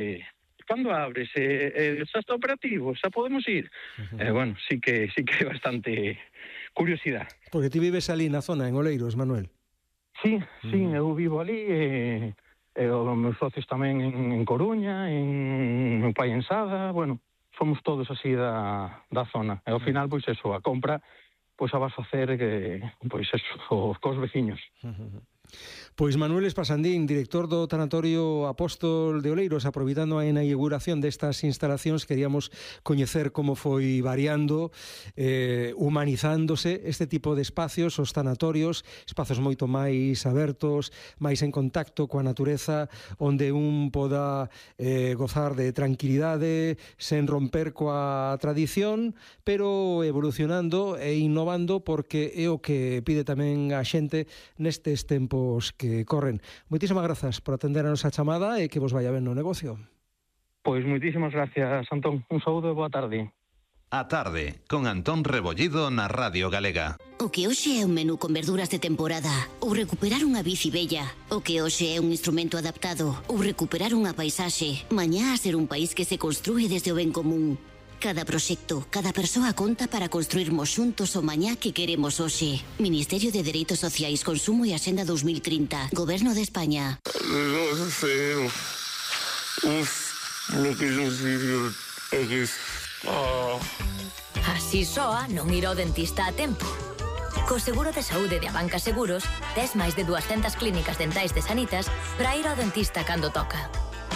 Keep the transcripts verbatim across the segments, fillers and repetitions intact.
eh, cando abres, eh, eh, xa está operativo, xa podemos ir. Uh-huh. Eh, bueno, sí que sí que é bastante curiosidade. Porque ti vives ali na zona, en Oleiros, Manuel. Sí, sí, uh-huh. eu vivo ali, e, e os meus socios tamén en, en Coruña, en meu pai en Sada, bueno, somos todos así da, da zona. E ao final, pois eso, a compra, pois a vas facer que, pois eso, os cos veciños. Uh-huh. Pois Manuel Espasandín, director do Tanatorio Apóstol de Oleiros, aproveitando a inauguración destas instalacións, queríamos coñecer como foi variando, eh, humanizándose este tipo de espacios, os tanatorios, espazos moito máis abertos, máis en contacto coa natureza, onde un poda eh, gozar de tranquilidade, sen romper coa tradición, pero evolucionando e innovando, porque é o que pide tamén a xente nestes tempos que corren. Moitísimas grazas por atender a nosa chamada e que vos vaya ben no negocio. Pois moitísimas gracias, Antón. Un saúdo e boa tarde. A tarde, con Antón Rebollido na Radio Galega. O que hoxe é un menú con verduras de temporada, ou recuperar unha bici bella. O que hoxe é un instrumento adaptado, ou recuperar unha paisaxe. Mañá a ser un país que se construe desde o ben común. Cada proxecto, cada persoa conta para construirmos xuntos o mañá que queremos hoxe. Ministerio de Dereitos Sociais, Consumo e Axenda dos mil trinta. Goberno de España. Non sei. Uf, lo que non sei é que... Así soa non ir ao dentista a tempo. Co seguro de saúde de Abanca Seguros, tes máis de duascentas clínicas dentais de Sanitas para ir ao dentista cando toca.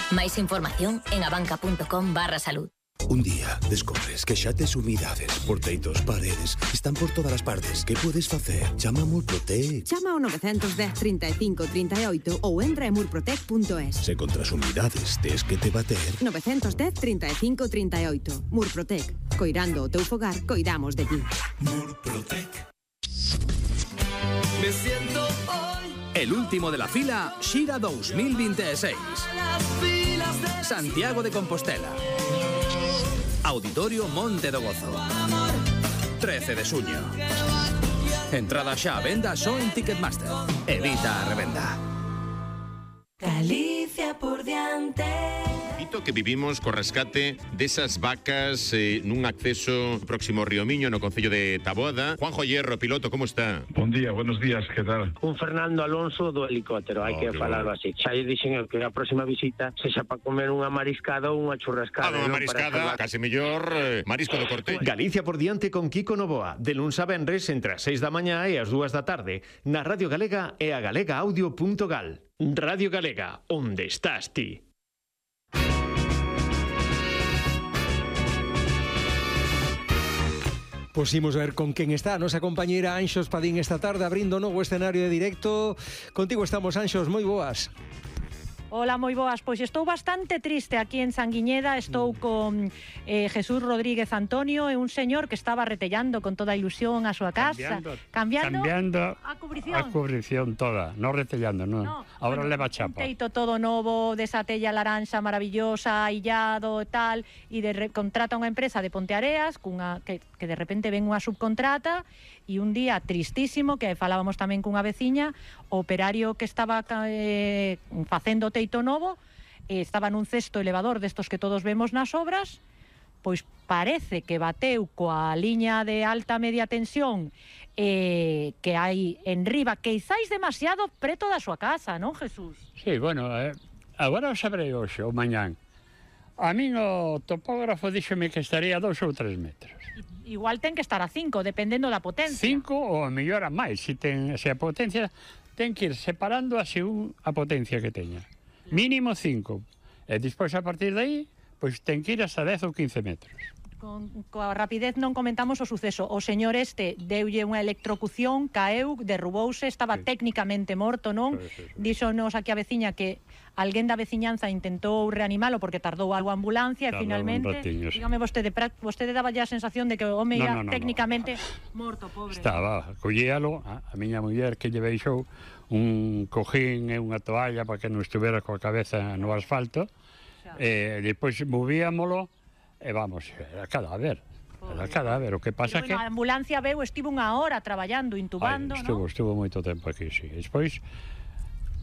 Máis información en abanca punto com barra salud. Un día descubres que xa tes humidades por teitos, paredes, están por todas as partes. Que podes facer? Chama a Murprotec. Chama ao nove un cero, trinta e cinco, trinta e oito ou entra en murprotec punto es. Se contra as humidades tes que te bater... nove un cero, trinta e cinco, trinta e oito. Murprotec. Coirando o teu fogar, coidamos de ti. Murprotec. Me siento hoy el último de la fila Xira dos mil veintiséis. Santiago de Compostela. Auditorio Monte do Gozo. trece de suño. Entrada xa a venda só en Ticketmaster. Evita a revenda. Galicia por diante. Dito que vivimos co rescate desas vacas eh, nun acceso próximo ao Río Miño, no concello de Taboada. Juanjo Hierro, piloto, como está? Bon día, buenos días, que tal? Un Fernando Alonso do helicóptero, hai oh, que falarlo bueno. así. Xa lle dixen que a próxima visita sexa para comer unha mariscada ou unha churrascada. Ah, unha mariscada, case mellor eh, marisco do corte. Galicia por diante con Kiko Novoa, de luns a venres entre as seis da mañá e as dúas da tarde, na Radio Galega e a galega audio punto gal. Radio Galega, onde estás ti? Pois imos ver con quen está a nosa compañeira Anxos Padín esta tarde, abrindo novo escenario de directo. Contigo estamos, Anxos, moi boas. Hola, moi boas. Pois estou bastante triste aquí en Sanguiñeda. Estou con eh, Jesús Rodríguez Antonio, e un señor que estaba retellando con toda a ilusión a súa casa. Cambiando, cambiando a cubrición. A cubrición toda, non retellando, non. No, Ahora bueno, leva chapa. Un teito todo novo, desa tella laranxa maravillosa, illado e tal, e de re, contrata unha empresa de Ponteareas cunha, que, que de repente ven unha subcontrata, e un día tristísimo, que falábamos tamén cunha veciña, o operario que estaba eh, facendo o teito novo, eh, estaba nun cesto elevador destos que todos vemos nas obras, pois parece que bateu coa liña de alta media tensión eh, que hai en riba, que izáis demasiado preto da súa casa, non, Jesús? Sí, bueno, eh, agora o sabrei hoxe, ou mañán. A min o topógrafo díxome que estaría a dous ou tres metros. Igual ten que estar a cinco, dependendo da potencia. Cinco ou mellor a máis, se, ten, se a potencia ten que ir separando a según a potencia que teña. Mínimo cinco. E despois a partir de aí, pois ten que ir hasta dez ou quince metros. Con, coa rapidez non comentamos o suceso. O señor este deulle unha electrocución, caeu, derrubouse, estaba sí. técnicamente morto, non? Sí, sí, sí. Díxonos aquí a veciña que alguén da veciñanza intentou reanimalo porque tardou algo a ambulancia e finalmente, ratiño, sí. dígame vostede, vostede daba ya a sensación de que o home ia no, no, no, técnicamente no. morto, pobre. Estaba, collíalo, a, a miña muller que lle deixou un cojín e unha toalla para que non estuvera coa cabeza no asfalto, e depois movíamolo. E vamos, era cadáver, era cadáver, o que pasa bueno, que... A ambulancia veu, estivo unha hora traballando, intubando, Ay, estuvo, ¿no? Estuvo moito tempo aquí, sí. Despois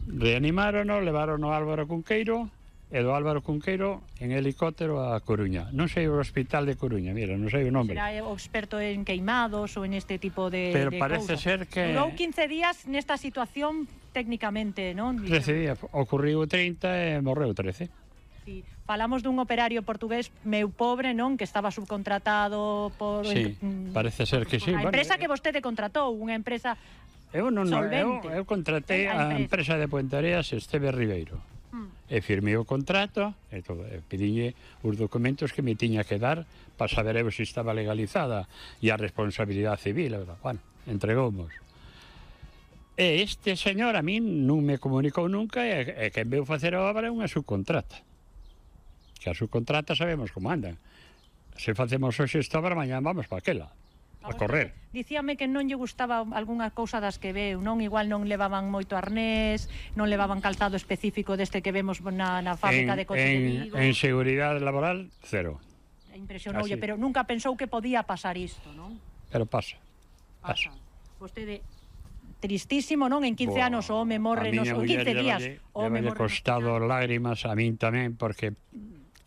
reanimárono, levaron ao Álvaro Cunqueiro, e do Álvaro Cunqueiro en helicóptero a Coruña. Non sei o hospital de Coruña, mira, non sei o nome. Será o experto en queimados ou en este tipo de Pero de parece cousas. ser que... Durou quince días nesta situación técnicamente, non? trece días, ocorriu trinta e morreu trece. Sí. Falamos dun operario portugués meu pobre, non? Que estaba subcontratado por... Sí, parece ser que sí. A empresa que vostede contratou, unha empresa Eu non, non, eu, solvente. eu contratei a empresa de Puentareas Esteve Ribeiro. E firmei o contrato e todo, e pediñe os documentos que me tiña que dar para saber eu se estaba legalizada e a responsabilidade civil, verdad? Bueno, entregoumos. E este señor a min non me comunicou nunca e, e quen veu facer a obra é unha subcontrata. Que a subcontrata sabemos como andan. Se facemos hoxe esta obra, mañá vamos para aquela, a correr. Dicíame que non lle gustaba algunha cousa das que veu, non? Igual non levaban moito arnés, non levaban calzado específico deste que vemos na, na fábrica en, de coches en, de Vigo. En seguridade laboral, cero. Impresionoulle, Así. pero nunca pensou que podía pasar isto, non? Pero pasa, pasa. Vostede tristísimo, non? En quince Boa, anos o home morre nos en quince días. O home Levalle morre costado lágrimas a min tamén, porque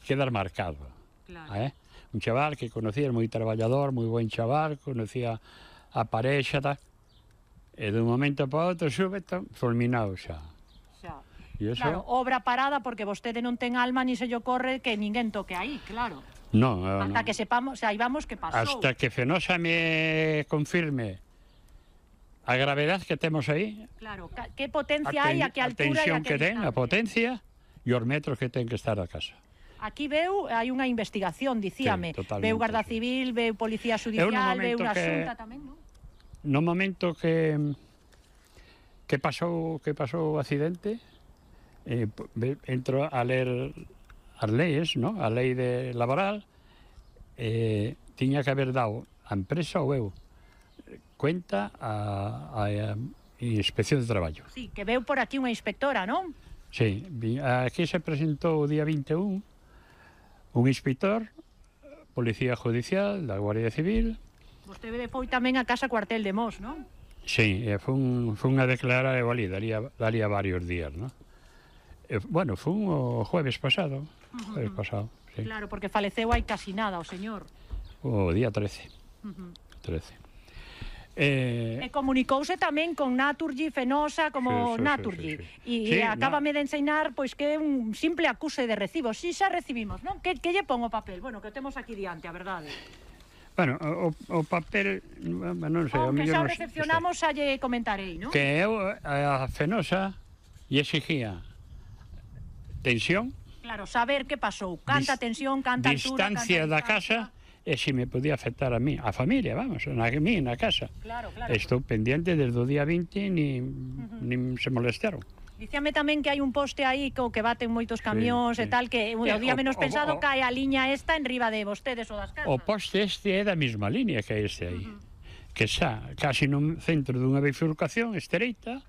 quedar marcado. Claro. Eh? Un chaval que conocía, moi traballador, moi buen chaval, conocía a parexa, tal, e dun momento para outro súbito, fulminado xa. Xa. E eso, Claro, obra parada porque vostede non ten alma ni se lle ocorre que ninguén toque aí, claro. no, no, Hasta que sepamos, saibamos que pasou. hasta que Fenosa me confirme a gravedade que temos aí, Claro, ca- que potencia a, hai, ten, a que a altura e a tensión que que ten, a distancia. potencia e os metros que ten que estar a casa. Aquí veu, hai unha investigación, dicíame. Sí, totalmente, veu Garda Civil, veu Policía Judicial, veu momento unha que- xunta tamén, non? No momento que que pasou que pasou o accidente, eh, ve- entro a ler as leis, ¿no? A lei de laboral, eh, tiña que haber dado a empresa ou eu cuenta a, a, a Inspección de Traballo. Sí, que veu por aquí unha inspectora, non? Sí, vi- aquí se presentou o día vinte e un un inspector, Policía Judicial, da Guardia Civil. Vostede foi tamén a casa cuartel de Mos, non? Sí, e fun, fun a declarar e valí, daría, daría varios días, ¿no? E, bueno, fun o jueves pasado, jueves pasado, sí. Claro, porque faleceu hai casi nada o señor. O día trece, Uh -huh. trece. Eh, E comunicouse tamén con Naturgy, Fenosa, como Sí, sí, sí, Naturgy. sí, sí. E, Sí, e acábame de enseñar pois que é un simple acuse de recibo. Si xa recibimos, non? Que, que lle pon o papel? Bueno, que o temos aquí diante, a verdade. bueno, o, o papel, non sei, o Aunque xa o mellor non sei. recepcionamos, xa lle comentarei, non? Que eu a Fenosa lle exigía tensión, Claro, saber que pasou. Canta Dis- tensión, canta altura, distancia canta da casa, e se me podía afectar a mí, a familia, vamos, na mí, na casa. Claro, claro. Estou pendiente desde o día vinte, ni, uh -huh. ni se molestaron. Dicíame tamén que hai un poste aí co que baten moitos camións sí. e tal, que o Eh, día o- menos o- pensado o- cae a liña esta en riba de vostedes ou das casas. O poste este é da mesma línea que este aí, uh -huh. que xa casi no centro dunha bifurcación estreita,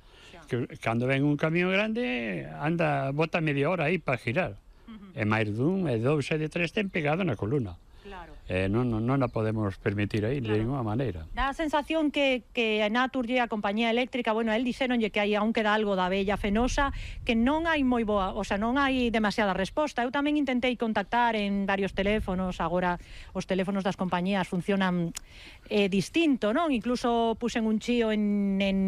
que cando ven un camión grande anda, bota media hora aí para girar. Uh -huh. E máis dun, e dous e de tres ten pegado na columna. Claro. Eh, non, non, non a podemos permitir aí claro. de ninguna maneira. Dá a sensación que, que a Naturgy, a compañía eléctrica, bueno, el dixéronlle que hai aún queda algo da bella Fenosa, que non hai moi boa, o sea, non hai demasiada resposta. Eu tamén intentei contactar en varios teléfonos, agora os teléfonos das compañías funcionan eh, distinto, non? Incluso puxen un chío en, en,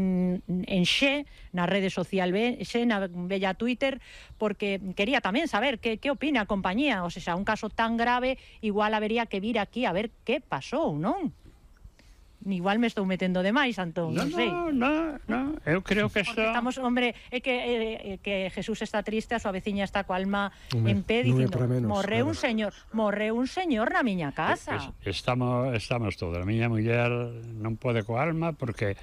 en Xe, na rede social Xe, na bella Twitter, porque quería tamén saber que, que opina a compañía, o sea, un caso tan grave, igual habería que vir aquí a ver que pasou, non? Igual me estou metendo demais, Antón, No, non sei. no, no, no, eu creo que isto... Porque estamos, hombre, é que, eh, que Jesús está triste, a súa veciña está coa alma Hombre, en pé, non é dicindo, para menos, morreu claro. un señor, morreu un señor na miña casa. Es- Estamos, estamos todos. A miña muller non pode coa alma porque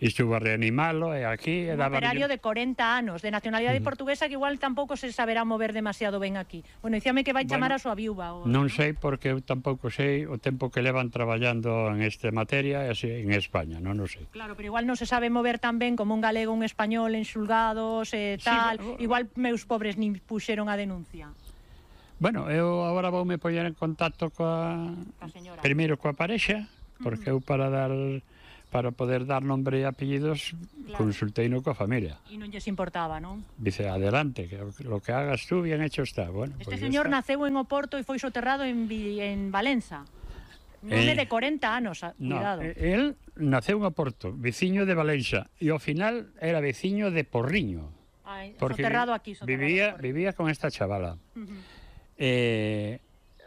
estuvo a reanimalo e aquí e Un daba operario de corenta anos, de nacionalidade portuguesa, que igual tampouco se saberá mover demasiado ben aquí. Bueno, dicíame que vai chamar Bueno, a súa viúva. O... Non sei porque eu tampouco sei o tempo que levan traballando en esta materia e así, en España, non o sei. Claro, pero igual non se sabe mover tan ben como un galego, un español en xulgados e tal. pero- Igual meus pobres nin puxeron a denuncia. Bueno, eu agora voume poñer en contacto coa... Ca señora. Primeiro coa parexa, porque eu para dar para poder dar nombre e apellidos, claro. Consultei no coa familia. E non lles importaba, non? Dice, adelante, que lo que hagas tú bien hecho está. Bueno, este pues señor está. Naceu en Oporto e foi soterrado en, en Valenza. Non é Eh, de corenta anos, cuidado. No, él naceu en Oporto, veciño de Valenza, e ao final era veciño de Porriño. Ay, porque soterrado aquí, soterrado vivía, por... vivía con esta chavala. Uh-huh. eh,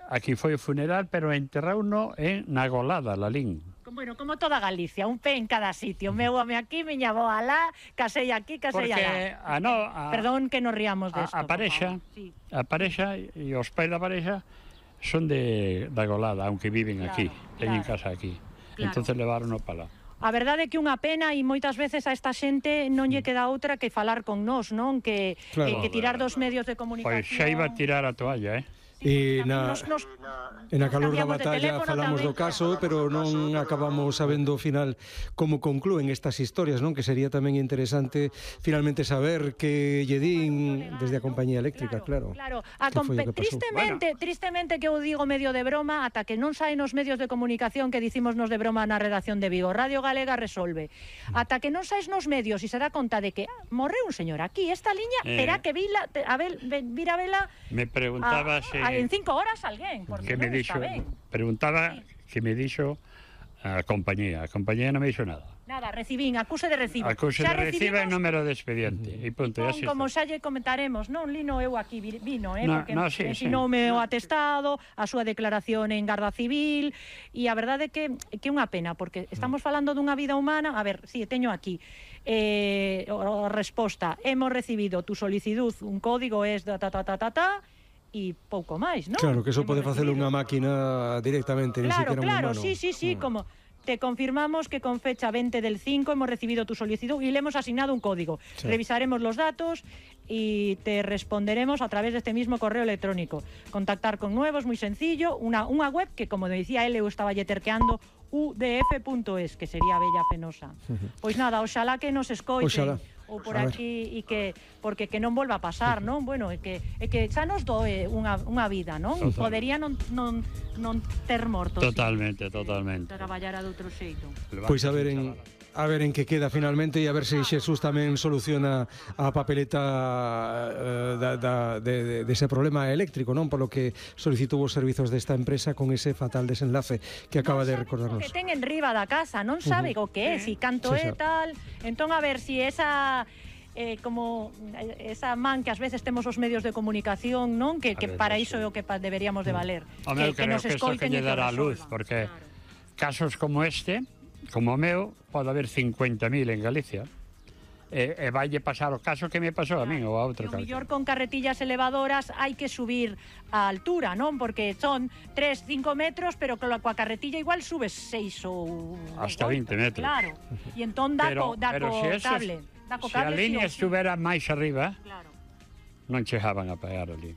aquí foi o funeral, pero enterrauno en Nagolada, Lalín. Bueno, como toda Galicia, un pé en cada sitio. Meu home aquí, miña boa alá, casei aquí, casei Porque alá. a, no, a, Perdón que nos riamos desto. A, a parexa, sí. a parexa e os pais da parexa son de Nagolada, aunque viven claro, aquí, teñen claro. casa aquí. Claro. Entonces levaron para lá. A verdade é que unha pena e moitas veces a esta xente non lle queda outra que falar con nós, non? Que, claro. que, que tirar dos medios de comunicación. Pois xa iba a tirar a toalla, eh? E na, nos, nos, en a calor da cambiamos de batalla teléfono falamos tamén. do caso, pero non acabamos sabendo ao final como conclúen estas historias, non? Que sería tamén interesante finalmente saber que lle din desde a compañía eléctrica, claro. Claro, a Que foi o que pasou? tristemente, bueno. tristemente que eu digo medio de broma, ata que non saen os medios de comunicación que dicimos nos de broma na redacción de Vigo. Radio Galega resolve. Ata que non saes nos medios e se dá conta de que ah, morreu un señor aquí, esta liña, Eh. terá que vila, te- a ver, ve- vir a vela Me preguntaba a, se... a, en cinco horas alguén, porque que me non dixo, está ben. preguntaba sí. que me dixo a compañía. A compañía non me dixo nada. Nada, recibín, acuse de recibo. Acuse Xa de recibo e recibimos- número de expediente. E punto, e así Como está. xa lle comentaremos, non lino eu aquí vi- vino, eh, No, porque no, sí, ensinoume sí. o atestado, a súa declaración en Garda Civil, e a verdade é que que é unha pena, porque estamos falando dunha vida humana. A ver, si, sí, teño aquí eh, a resposta, hemos recibido tu solicitud, un código es da ta ta ta ta ta, e pouco máis, non? Claro, que eso Hemos pode facelo recibido. unha máquina directamente, ni Claro, siquiera un claro, humano. sí, sí, sí, Mm. como te confirmamos que con fecha veinte del cinco hemos recibido tu solicitud y le hemos asignado un código. Sí. Revisaremos los datos y te responderemos a través de este mismo correo electrónico. Contactar con nuevos, muy sencillo, una, una web que, como decía él, eu estaba lle terqueando, u d f punto es, que sería Bella Fenosa. Pois nada, oxalá que nos escoiten. Oxalá. Ou por A ver. aquí, e que porque que non volva a pasar, non? Bueno, é que é que xa nos doe unha unha vida, non? Total. Podería non non non ter morto. Totalmente, totalmente. Traballara de outro xeito. Pois a ver en a ver en que queda finalmente e a ver se Xesús tamén soluciona a papeleta eh, da, da, de, de, dese problema eléctrico, non? Polo que solicitou os servizos desta empresa con ese fatal desenlace que acaba de recordarnos. Que ten en riba da casa, non sabe Ujú. o que é, si canto Sí, é xa. tal. Entón a ver si esa eh, como esa man que ás veces temos os medios de comunicación, non? Que, que A para veces, iso é o que pa- deberíamos de valer. Home, eu que, que creo nos que isto que escoiten lle e que dará a luz, resolvan. porque casos como este, como o meu, pode haber cincuenta mil en Galicia. E, e vaille pasar o caso que me pasou a min ou a outro O caso. mellor con carretillas elevadoras hai que subir a altura, non? Porque son tres, cinco metros, pero coa coa carretilla igual subes seis ou... Hasta oito, vinte metros. Claro. E entón dá Pero, co, dá pero co se eso, cable. Dá co se a cable, línea sí ou sí. estuvera máis arriba, Claro. non chegaban a pagar ali.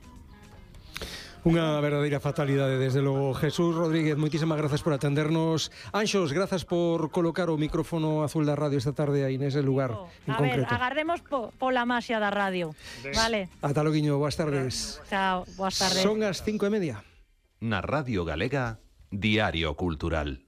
Unha verdadeira fatalidade, desde logo. Jesús Rodríguez, moitísimas grazas por atendernos. Anxos, grazas por colocar o micrófono azul da radio esta tarde aí nese lugar en A ver, concreto. agardemos po, pola maxia da radio. Vale. Ata loguiño, boas tardes. Chao, boas tardes. Son as cinco e media. Na Radio Galega, Diario Cultural.